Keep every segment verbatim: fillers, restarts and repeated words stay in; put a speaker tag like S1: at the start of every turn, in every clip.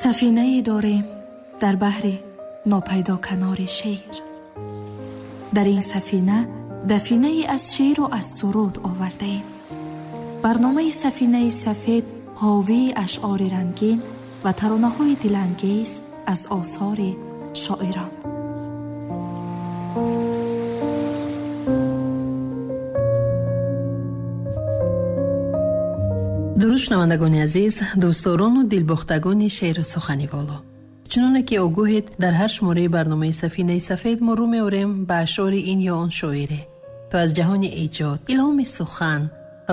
S1: Сафинае дорем дар баҳри нопайдо канори шеър. Дар ин сафина дафинае аз шеъру аз суруд овардаем. Барномаи Сафинаи сафед ҳовии ашъори рангин ва таронаҳои дилангез аз осори шоирон.
S2: Дуруд шунавандагони азиз, дӯстдорону дилбохтагони шеъру сухани воло. Чуноне ки огоҳед, дар ҳар шумораи барномаи Сафинаи сафед мо рӯ меорем ба ашъори ин ё он шоире, то аз ҷаҳони эҷод, илҳоми сухан,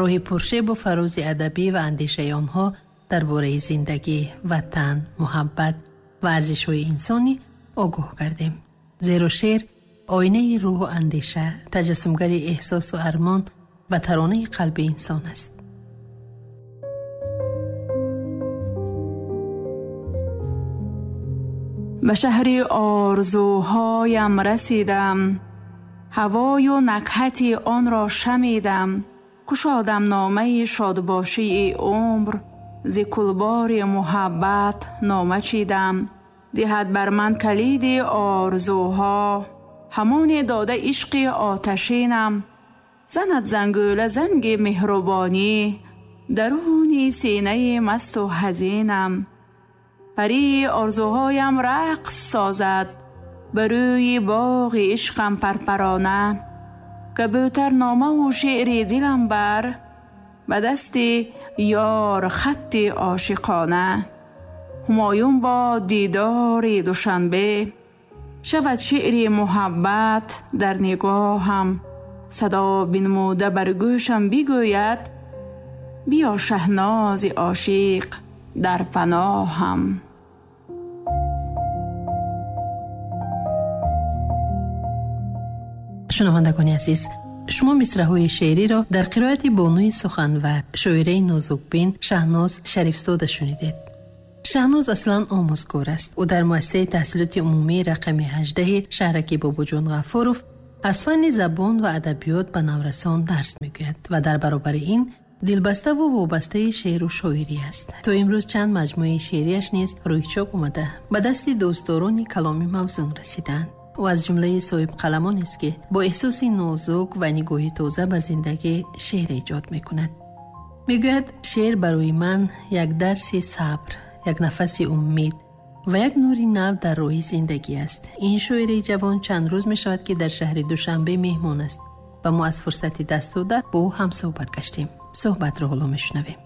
S2: роҳи пуршебу фарози адабӣ ва андешаи онҳо дар бораи зиндагӣ, ватан, муҳаббат ва арзишҳои инсонӣ огоҳ гардем. Зеро шеър оинаи рӯҳу андеша, таҷассумгари эҳсосу армон ва таронаи қалби инсон аст.
S3: Ба шаҳри орзуҳоям расидам, ҳавою накҳати онро шамидам, кушодам номаи шодбошии умр, зи кулбори муҳаббат нома чидам. Диҳад бар ман калиди орзуҳо, ҳамоне дода ишқи оташинам. Занад зангӯла занги меҳрубонӣ, даруни синаи масту ҳазинам. Парии орзуҳоям рақс созад, ба рӯи боғи ишқам парпарона. Кабӯтар номаву шеъри дилам бар, ба дасти ёр хатти ошиқона. Ҳумоюн бо дидори Душанбе, шавад шеъри муҳаббат дар нигоҳам. Садо бинмуда бар гӯшам бигӯяд, биё Шаҳнози ошиқ дар паноҳам.
S2: Шунавандагони азиз, шумо мисраҳои шеъриро дар қироати бонуи суханвар, шоираи нозукбин Шаҳноз Шарифзода шунидед. Шаҳноз аслан омӯзгор аст. Ӯ дар муассисаи таҳсилоти умумии рақами ҳаждаҳи шаҳраки Бобоҷон Ғафуров аз фанни забон ва адабиёт ба наврасон дарс мегӯяд ва дар баробари ин дилбаставу вобастаи шеъру шоирӣ аст. То имрӯз чанд маҷмӯаи шеърияш низ рӯи чоп омада, ба дасти дӯстдорони каломи мавзун расидаанд. Ӯ аз ҷумлаи соҳибқаламонест, ки бо эҳсоси нозук ва нигоҳи тоза ба зиндагӣ шеър эҷод мекунад. Мегӯяд, шеър барои ман як дарси сабр, як нафаси умед ва як нури нав дар роҳи зиндагӣ аст. Ин шоираи ҷавон чанд рӯз мешавад, ки дар шаҳри Душанбе меҳмон аст ва мо аз фурсати даст дода бо ӯ ҳамсӯҳбат гаштем. Суҳбатро ҳоло мешунавем.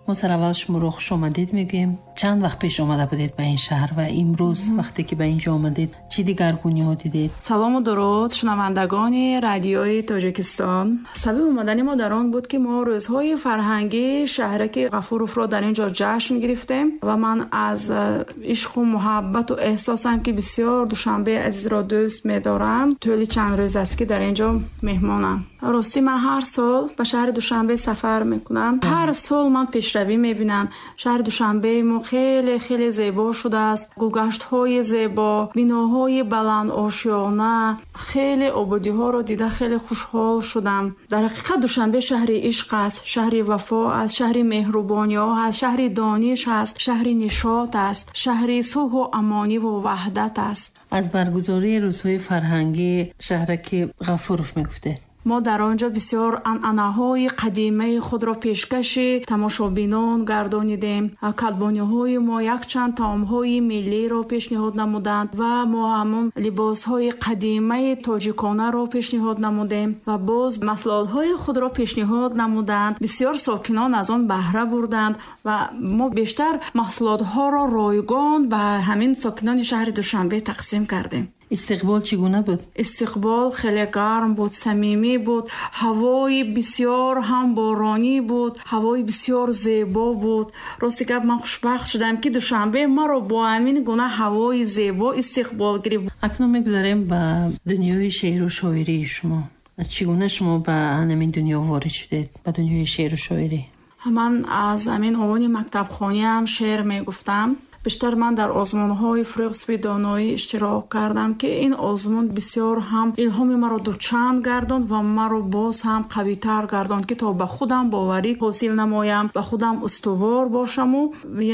S2: Мо сараввал шуморо хуш омадед мегӯем. Чанд вақт пеш омада будед ба ин шаҳр ва имрӯз вақте ки ба инҷо омадед чӣ дигаргуниҳо дидед?
S3: Салому дуруд шунавандагони радиои Тоҷикистон. Сабаби омадани мо дар он буд, ки мо рӯзҳои фарҳангии шаҳраки Ғафуровро дар ин ҷо ҷашн гирифтем ва ман аз ишқу муҳаббату эҳсосам, ки бисёр Душанбеи азизро дӯст медорам, тӯли чанд рӯз аст, ки дар ин ҷо меҳмонам. Ростӣ ман ҳар сол ба шаҳри Душанбе сафар мекунам. Ҳар сол ман пешравӣ мебинам. Шаҳри Душанбеи мо хеле хеле зебо шудааст. Гулгаштҳои зебо, биноҳои баландошёна, хеле ободиҳоро дида хеле хушҳол шудам. Дар ҳақиқат Душанбе шаҳри ишқ аст, шаҳри вафо аст, шаҳри меҳрубониҳо аст, шаҳри дониш аст, шаҳри нишот аст, шаҳри сулҳу амониву ваҳдат аст.
S2: Аз баргузории рӯзҳои фарҳангии шаҳраки Ғафуров мегуфтед?
S3: Мо дар он ҷо бисёр анъанаҳои қадимаи худро пешкаши тамошобинон гардонидем. Калбониҳои мо якчанд таомҳои миллиро пешниҳод намуданд ва мо ҳамон либосҳои қадимаи тоҷиконаро пешниҳод намудем ва боз маҳсулотҳои худро пешниҳод намуданд. Бисёр сокинон аз он баҳра бурданд ва мо бештар маҳсулотҳоро ройгон ба ҳамин сокинони шаҳри Душанбе тақсим кардем.
S2: Истиқбол чӣ гуна буд?
S3: Истиқбол хеле гарм буд, самимӣ буд, ҳавои бисёр ҳам боронӣ буд, ҳавои бисёр зебо буд. Рости гап, ман хушбахт шудам, ки Душанбе маро бо ҳамин гуна ҳавои зебо истиқбол гирифт.
S2: Акнун мегузарем ба дунёи шеъру шоирии шумо. Чӣ гуна шумо ба ҳамин дунё ворид шудед, ба дунёи шеъру шоирӣ?
S3: Ман аз ҳамин овони мактабхониам шеър мегуфтам. Бештар ман дар озмунҳои Фурӯғи Субҳи Доноӣ иштирок кардам, ки ин озмун бисёр ҳам илҳоми маро дучанд гардонд ва маро боз ҳам қавитар гардонд, ки то ба худам боварӣ ҳосил намоям, ба худам устувор бошаму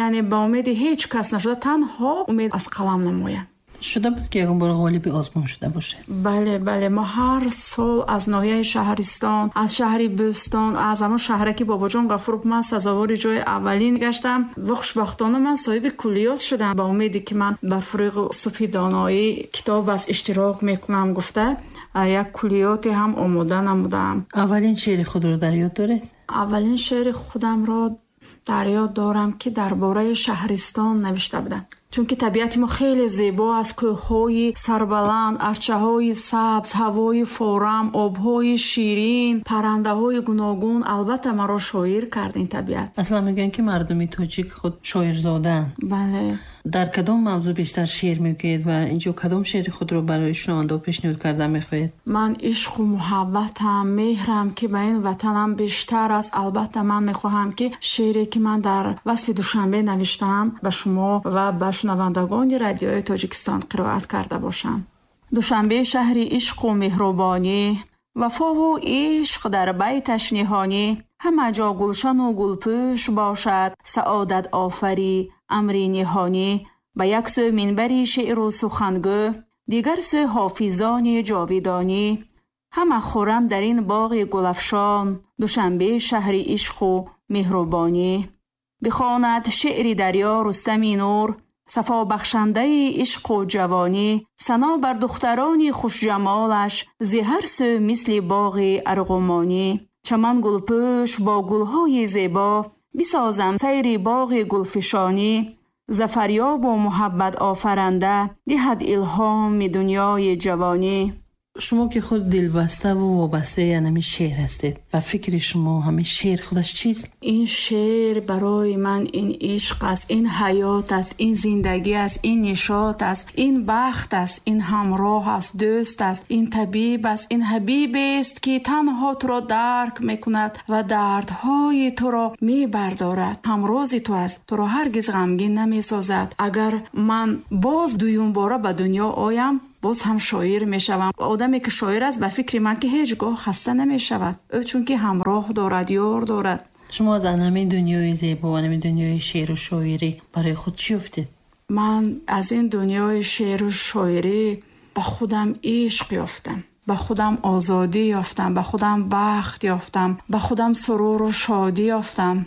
S3: яъне ба умеди ҳеҷ кас нашуда, танҳо умед аз қалам намоям.
S2: Шуда буд, ки ягон бор ғолиби озмун шуда бошед?
S3: Бале, бале, мо ҳар сол аз ноҳияи Шаҳристон, аз шаҳри Бӯстон, аз ҳамон шаҳраки Бобоҷон Ғафуров ман сазовори ҷои аввалин гаштам ва хушбахтона ман соҳиби куллиёт шудам. Ба умеде ки ман ба Фурӯғи Субҳи Доноӣ китоб аз иштирок мекунам гуфта, як куллиёте ҳам омода намудам.
S2: Аввалин шеъри худро дар ёд доред?
S3: Аввалин шеъри худамро дар ёд дорам, ки дар бораи шаҳристон навишта будам. Чунки табиати мо хеле зебо аст, кӯҳҳои сарбаланд, арчаҳои сабз, ҳавои форам, обҳои ширин, паррандаҳои гуногун. Албатта маро шоир кард ин табиат.
S2: Аслан мегӯянд, ки мардуми тоҷик худ шоирзодаанд.
S3: Бале.
S2: Дар кадом мавзӯъ бештар шеър мегӯед ва инҷо кадом шеъри худро барои шунавандаҳо пешниҳод карда мехоҳед?
S3: Ман ишқу муҳаббатам, меҳрам, ки ба ин ватанам бештар аст. Албатта ман мехоҳам, ки шеъре, ки ман дар васфи Душанбе навиштаам, ба шумо ва ба шунавандагони радиои Тоҷикистон қироат карда бошам. Душанбе шаҳри ишқу меҳрубонӣ, вафову ишқ дар байташ ниҳонӣ, ҳама ҷо гулшану гулпӯш бошад, саодат офарӣ амри ниҳонӣ. Ба як сӯ минбари шеъру сухангӯ, дигар сӯ ҳофизони ҷовидонӣ. Ҳама хуррам дар ин боғи гулафшон, Душанбе шаҳри ишқу меҳрубонӣ. Бихонад шеъри дарё Рустами Нур, сафобахшандаи ишқу ҷавонӣ. Сано бар духтарони хушҷамолаш, зи ҳар сӯ мисли боғи арғумонӣ. Чаман гулпӯш бо гулҳои зебо, бисозам сайри боғи гулфишонӣ. Зафарёбу муҳаббат офаранда, диҳад илҳоми дунёи ҷавонӣ.
S2: Шумо ки худ дилбаставу вобастаи ҳамин шеър ҳастед, ба фикри шумо ҳамин шеър худаш чист?
S3: Ин шеър барои ман ин ишқ аст, ин ҳаёт аст, ин зиндагӣ аст, ин нишот аст, ин бахт аст, ин ҳамроҳ аст, дӯст аст, ин табиб аст, ин ҳабибест, ки танҳо туро дарк мекунад ва дардҳои туро мебардорад. Ҳамрози ту аст, туро ҳаргиз ғамгин намесозад. Агар ман боз дуюмбора ба дунё оям, боз ҳам шоир мешавам. Одаме ки шоир аст, ба фикри ман, ки ҳеҷ гоҳ хаста намешавад. Ӯ чунки ҳамроҳ дорад, ёр дорад.
S2: Шумо аз ҳамин дунёи зебо, ҳамин дунёи шеъру шоирӣ барои худ чӣ ёфтед?
S3: Ман аз ин дунёи шеъру шоирӣ ба худам ишқ ёфтам, ба худам озодӣ ёфтам, ба худам бахт ёфтам, ба худам суруру шодӣ ёфтам,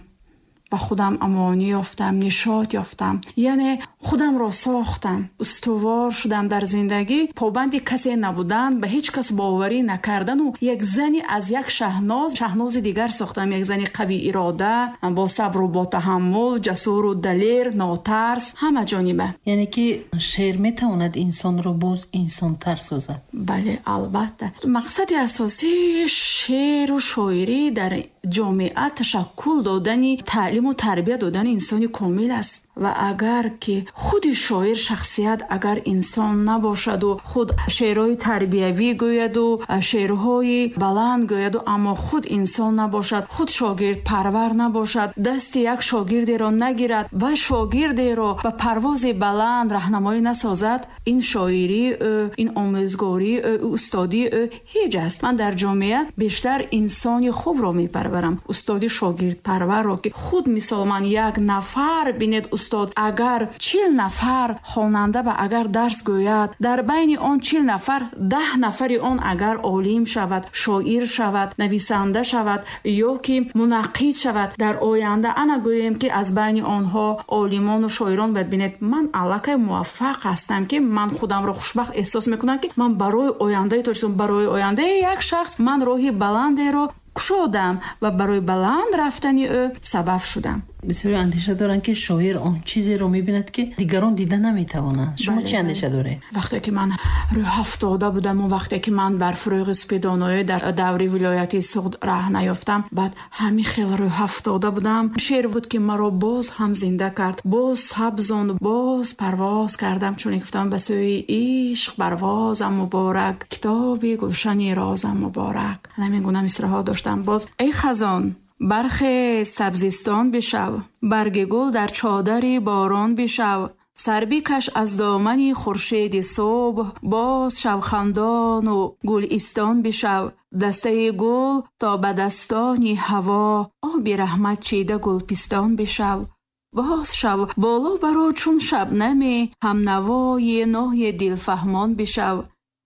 S3: ба худам амонӣ ёфтам, нишот ёфтам. Яъне худамро сохтам, устувор шудам дар зиндагӣ, побанди касе набудан, ба ҳеҷ кас боварӣ накардану як зани аз як шаҳноз шаҳнози дигар сохтам. Як зани қавӣ ирода, бо сабру бо таҳаммул, ҷасуру далер, нотарс, ҳама ҷониба.
S2: Яъне ки шеър метавонад инсонро боз инсонтар созад?
S3: Бале, албатта. Мақсади асосии шеъру шоирӣ дар ҷомеа ташаккул додани таълиму тарбия додани инсони комил аст. Ва агар ки худи шоир шахсият агар инсон набошаду худ шеърҳои тарбиявӣ гӯяду шеърҳои баланд гӯяду, аммо худ инсон набошад, худ шогирдпарвар набошад, дасти як шогирдеро нагирад ва шогирдеро ба парвози баланд раҳнамоӣ насозад, ин шоирии ӯ, ин омӯзгории ӯ, устодии ӯ ҳеҷ аст. Ман дар ҷомеа бештар инсони хубро мепарварам, устоди шогирдпарварро, ки худ мисол ман як нафар бинед, устод агар чил нафар хонанда ба агар дарс гӯяд, дар байни он чил нафар даҳ нафари он агар олим шавад, шоир шавад, нависанда шавад ё ки мунаққид шавад, дар оянда ана гӯем ки аз байни онҳо олимону шоирон бояд бинед. Ман аллакай муваффақ ҳастам, ки ман худамро хушбахт эҳсос мекунам, ки ман барои ояндаи Тоҷикистон, барои ояндаи як шахс ман роҳи баландеро кушодам ва барои баланд рафтани ӯ сабаб шудам.
S2: Бисёре андеша доранд, ки шоир он чизеро мебинад, ки дигарон дида наметавонанд. Шумо чӣ андеша доред?
S3: Вақте ки ман рӯҳафтода будам ва вақте ки ман бар Фурӯғи Супедоноӣ дар даври вилояти Суғд раҳ наёфтам, баъд ҳамин хел рӯҳафтода будам. Шеър буд, ки маро боз ҳам зинда кард, боз сабзонд, боз парвоз кардам. Чун гуфтам ба сӯи ишқ парвозам муборак, китоби гулшани розам муборак. Ҳамин гуна мисраҳо доштам. Боз эй хазон бархез, сабзистон бишав, барги гул дар чодари борон бишав. Сар бикаш аз домани хуршеди субҳ, боз шав хандону гулистон бишав. Дастаи гул то ба дастони ҳаво, оби раҳмат чида гулпистон бишав. Боз шав боло баро чун шабнаме, ҳамнавои ноҳи дилфаҳмон бишав.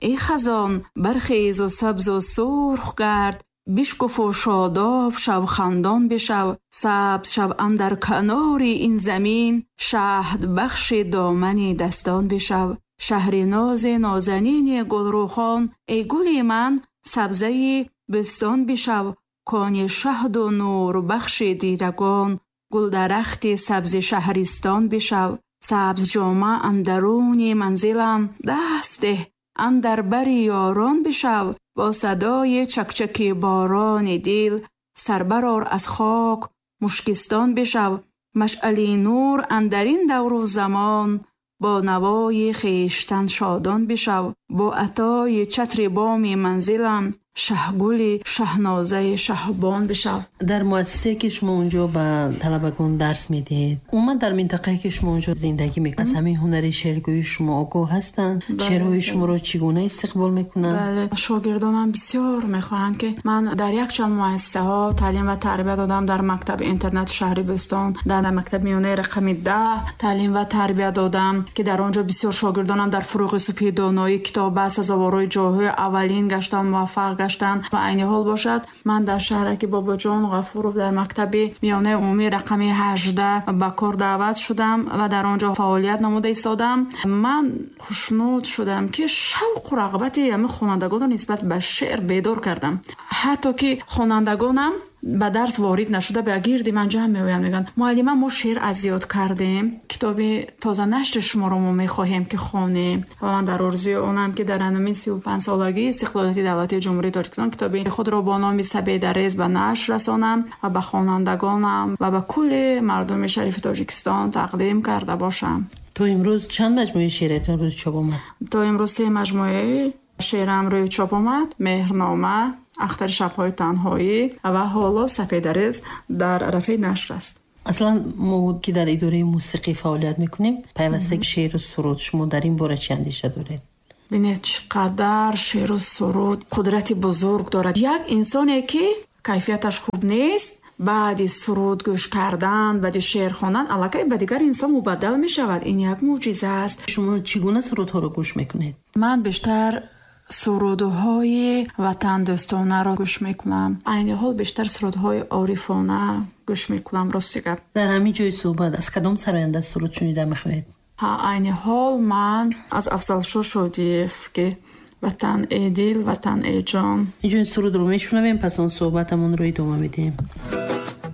S3: Эй хазон, бархезу сабзу сурх гард, бишкуфу шодоб шав хандон бишав. Сабз шав андар канори ин замин, шаҳд бахши домани дастон бишав. Шаҳри нози нозанини гулрухон, эй гули ман сабзаи бӯстон бишав. Кони шаҳду нурбахши дидагон, гулдарахти сабзи шаҳристон бишав. Сабз ҷома андаруни манзилам, даст деҳ андар бари ёрон бишав. Бо садои чакчаки борони дил, сар барор аз хок мушкистон бишав. Машъали нур андар ин давру замон, бо навои хештан шодон бишав. Бо атои чатри боми манзилам, шаҳгули шаҳнозаи шаҳбон бишав.
S2: Дар муассисае ки шумо унҷо ба талабагон дарс медиҳед, умуман дар минтақае ки шумо унҷо зиндагӣ мекунед, аз ҳамин ҳунари шеъргӯии шумо огоҳ ҳастанд? Шеърҳои шуморо чӣ гуна истиқбол мекунанд?
S3: Бале, шогирдонам бисёр мехоҳанд ки ман дар якчанд муассисаҳо таълим ва тарбия додам. Дар мактаби интернати шаҳри Бӯстон, дар мактаби миёнаи рақами даҳ таълим ва тарбия додам, ки дар он ҷо бисёр шогирдонам дар фурӯғи субҳи доноӣ китоб ба сазоворҳои ҷойҳои аввалин гаштанд, муваффақ гаштанд. Ва айни ҳол бошад, ман дар шаҳраки Бобоҷон Ғафуров дар мактаби миёнаи умумии рақами ҳаждаҳ ба кор даъват шудам ва дар он ҷо фаъолият намуда истодам. Ман хушнуд шудам, ки шавқу рағбати ҳамин хонандагонро нисбат ба шеър бедор кардам. Ҳатто ки хонандагонам ба дарс ворид нашуда ба гирди ман ҷамъ меоянд, мегӯянд: муаллима, мо шеър аз ёд кардем, китоби тозанашри шуморо мо мехоҳем ки хонем. Ва ман дар орзуи онам, ки дар ҳамин сию панҷ солагии истиқлолияти давлатии Ҷумҳурии Тоҷикистон китоби худро бо номи Сапедарез ба нашр расонам ва ба хонандагонам ва ба кулли мардуми шарифи Тоҷикистон тақдим карда бошам.
S2: То имрӯз чанд маҷмӯаи шеъриятон рӯи чоп омад?
S3: То имрӯз се маҷмӯаи шеърам рӯи чоп омад: Меҳрнома, Ахтари шабҳои танҳоӣ ва ҳоло Сапедарез дар арафаи нашр аст.
S2: Аслан мо ки дар идораи мусиқӣ фаъолият мекунем, пайваста шеъру суруд, шумо дар ин бора чӣ андеша доред?
S3: Бинед, чӣ қадар шеъру суруд қудрати бузург дорад. Як инсоне ки кайфияташ хуб нест, баъди суруд гӯш кардан, баъди шеър хондан аллакай ба дигар инсон мубаддал мешавад. Ин як мӯъҷиза аст.
S2: Шумо чӣ гуна сурудҳоро гӯш мекунед?
S3: Ман бештар сурудҳои ватандӯстонаро гӯш мекунам. Айни ҳол бештар сурудҳои орифона гӯш мекунам, рости гап.
S2: Дар ҳамин ҷои суҳбат аз кадом сароянда суруд шунида мехоҳед?
S3: Ҳа, айни ҳол ман аз Афзалшо Шодиев, ки Ватан эй дил, ватан эй ҷон.
S2: Инҷо сурудро мешунавем, пас он суҳбатамонро идома медиҳем.